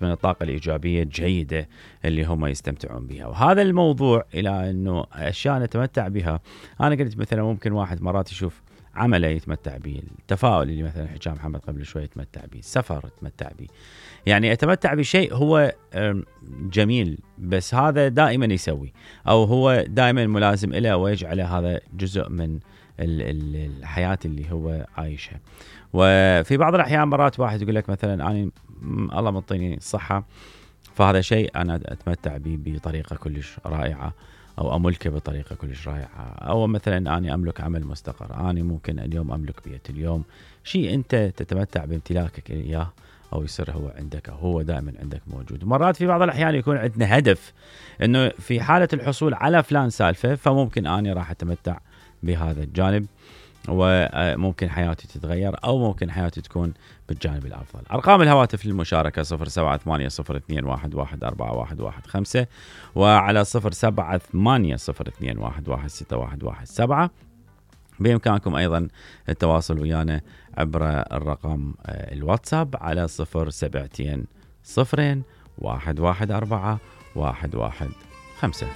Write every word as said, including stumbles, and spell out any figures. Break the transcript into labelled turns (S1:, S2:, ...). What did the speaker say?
S1: من الطاقة الإيجابية الجيدة اللي هم يستمتعون بها. وهذا الموضوع إلى أنه أشياء نتمتع بها. أنا قلت مثلا ممكن واحد مرات يشوف عمله يتمتع به، التفاؤل اللي مثلا حكى محمد قبل شوي يتمتع به، السفر يتمتع به، يعني أتمتع بشيء هو جميل بس هذا دائما يسوي أو هو دائما ملازم إله ويجعله هذا جزء من الحياة اللي هو عايشها. وفي بعض الأحيان مرات واحد يقول لك مثلا أنا الله مطيني الصحة فهذا شيء أنا أتمتع به بطريقة كلش رائعة أو أملكه بطريقة كلش رائعة، أو مثلا أنا أملك عمل مستقر، أنا ممكن اليوم أملك بيت، اليوم شيء أنت تتمتع بامتلاكك إياه أو يصير هو عندك أو هو دائما عندك موجود. مرات في بعض الأحيان يكون عندنا هدف إنه في حالة الحصول على فلان سالفة فممكن أنا راح أتمتع بهذا الجانب وممكن حياتي تتغير أو ممكن حياتي تكون بالجانب الأفضل. أرقام الهواتف للمشاركة صفر سبعة ثمانية صفر اثنين واحد واحد أربعة واحد واحد خمسة وعلى صفر سبعة ثمانية صفر اثنين واحد واحد ستة واحد واحد سبعة. بإمكانكم أيضا التواصل ويانا عبر الرقم الواتساب على صفر سبعتين صفرين واحد واحد أربعة واحد واحد خمسة.